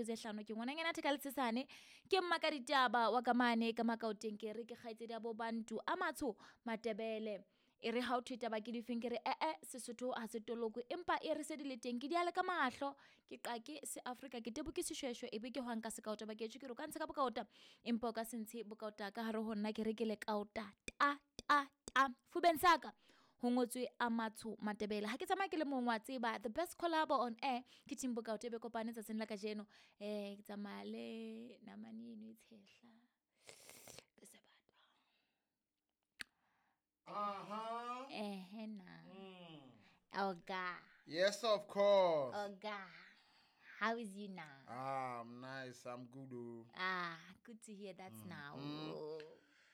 Tse hlano ke ngwananyana theka letshesane ke mma ka ditaba wa ka mane ka makaoteng ke re ke kgaitsedi ya bo bantu a matsho matebele e re ha o thwe taba ke difeng ke re ee sesotho ha se tolokwe empa e re se di le teng ke diale ka mahlo ke qake se afrika ke tebo ke seshweshwe e be ke hwang ka sekaota ba ke ke re o ka ntshe ka bokaota empa o ka se ntshe bokaota ka hare ho nna ke re ke lekaota ta ta ta fubeng saka ho ngotswe a matsho matebele ha ke tsamaya ke le mong wa tseba the best collabo on air ke team bokaote be kopane tsatsing la kajeno um ke tsamaya le namane eno e tshehla ke sebata. Ehe na. Oga. Yes, of course. Oga, how is you now? Ah, I'm nice. I'm good. Oh. Ah, good to hear that now.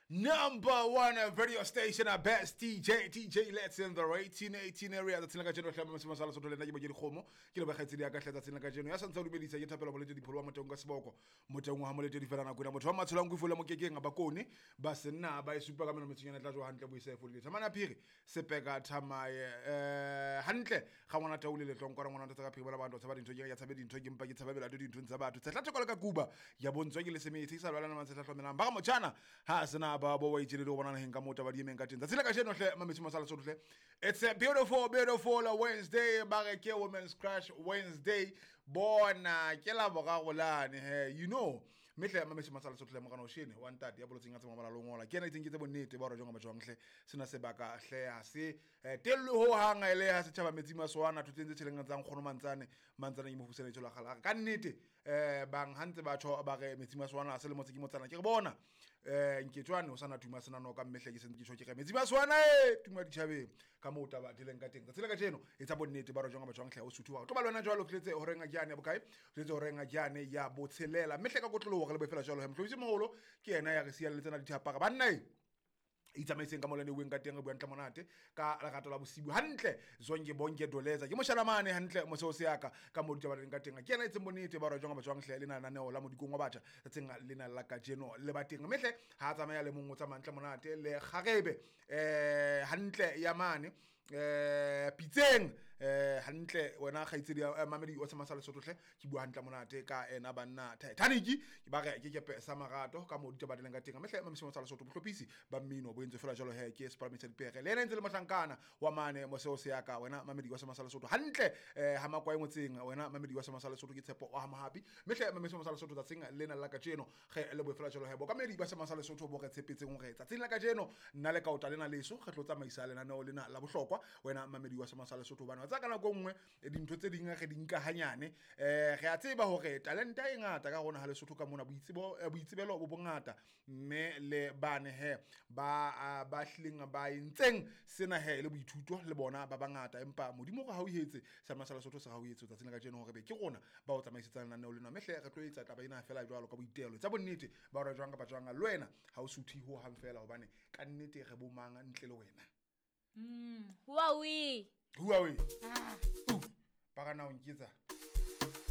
Number one radio station, our best DJ, DJ Let's in the 1818 area. Tsatsing la kajeno hle mosima sa Lesotho le nna ke Mokedi Kgomo. Ke le bakgaitsedi ya ka hle tsatsing la kajeno. Ya santse o dumedisa ke thapelo Moletedi Pholo wa Motaung ka seboko. Motaung wa ha Moletedi fela nako ena. Motho wa matsholang ko fola mokekeng ba kone ba senna ba e supa ka meno metsunyana tla jowa hantle boise e fodile. Thamana phiri sepeka thamaye hantle ga ngwana taule le tlong kwa ngwana tsa ka phiri bana ba tshaba dintho ke ya tshabe dintho ke mpa ke tshabe bela dintho tsa batho. Tshehla theko le ka kuba ya bontswa ke le semetsi sa lwalana mantse hlomelang. Ba ga motjhana ha sena ba bo wa itjele le go bona naheng ka moo taba di emeng ka teng. Tsatsi la kajeno hle mametse masala Sotho hle. It's a beautiful beautiful Wednesday, ba re ke Women's Crush Wednesday. Bona ke la boraro lane he, you know. Mme hle mametse masala Sotho hle morana o shene wa ntate ya bolotseng a tse mabala longola. Ke ena itseng ke tse bonnete ba hore jwang ba jwang hle sena sebaka hle ha se tellwe ho hang ele ha setjhaba metsi maswana thotseng tse tjheleng tsa nkgono mantsane mantsane ke mo fusela tshola gala. Ka nnete bang ha ntse batho ba re metsi maswana a se le motse ke motsana ke re bona nketswane o sana tuma sena noka mme hle ke sentse ke tjho ke re metsi maswana e tuma ditjhabeng ka moo taba di leng ka teng. Tsatsi la kajeno e tsa bonnete ba re jwang ba jwang hle o suthu wa tlo ba le wena jwalo tletse horeng a jane ya bokae tletse horeng a jane ya botshelela mme hle ka kotloloho re le bofela jwalo he mohlomisi moholo ke yena ya re siang le tsena dithapara banna e itsamaiseng ka molane weng ka teng re bua ntle monate ka lerato la bosibu hantle zonke bonke doleza ke moshalamane hantle moseo se yaka ka mo ditaba leng ka teng ke yena etseng bonnete ba re jwang ba jwang hle le na lenaneo la modikong wa batjha tsatsing lena la kajeno le ba teng mme hle ha tsamaya le mong o tsamaya ntle monate le kgarebe hantle ya mane pitseng hantle wena kgaitsedi ya mamedi o semasa Lesotho hle ke bua hantle monate ka ena banna Titanic ke ba re ke kepe sa marato ka mo ditaba di leng ka teng mme hle mamedi sa Lesotho bohlophisi ba mmino bo entse fela jalo he ke Sepalami sa Dipere le ena ntse le mohlankana wa mane moseo se yaka wena mamedi wa semasa Lesotho hantle ha makwae motseng wena mamedi wa semasa Lesotho ke tshepo wa ha Mohapi mme hle mamedi sa Lesotho tsatsing lena la kajeno ge le bofela jalo he bokamedi ba semasa Lesotho bo re tshepetseng hore tsatsing la kajeno nna le kaota lena leso re tlo tsamaisa lenaneo lena la bohlokwa wena mamedi wa semasa Lesotho hobane wa tsaya ka nako e nngwe dintho tse ding re di nka hanyane re a tseba hore talenta e ngata ka rona ha Lesotho ka mona boitsebelo bo bongata mme le bane he ba ba hlileng ba entseng sena he le boithuto le bona ba bangata empa Modimo re hauhetse semasa Lesotho se hauhetse tsatsing la kajeno hore be ke rona ba o tsamaisetsang lenaneo lena mme hle re tlo etsa taba ena fela jwalo ka boitelo tsa bonnete ba hore jwang kapa jwang le wena ha o suthe ho hang fela hobane ka nnete re bomang ntle le wena. Huawei. Huawei. Ba ka na o nketsa.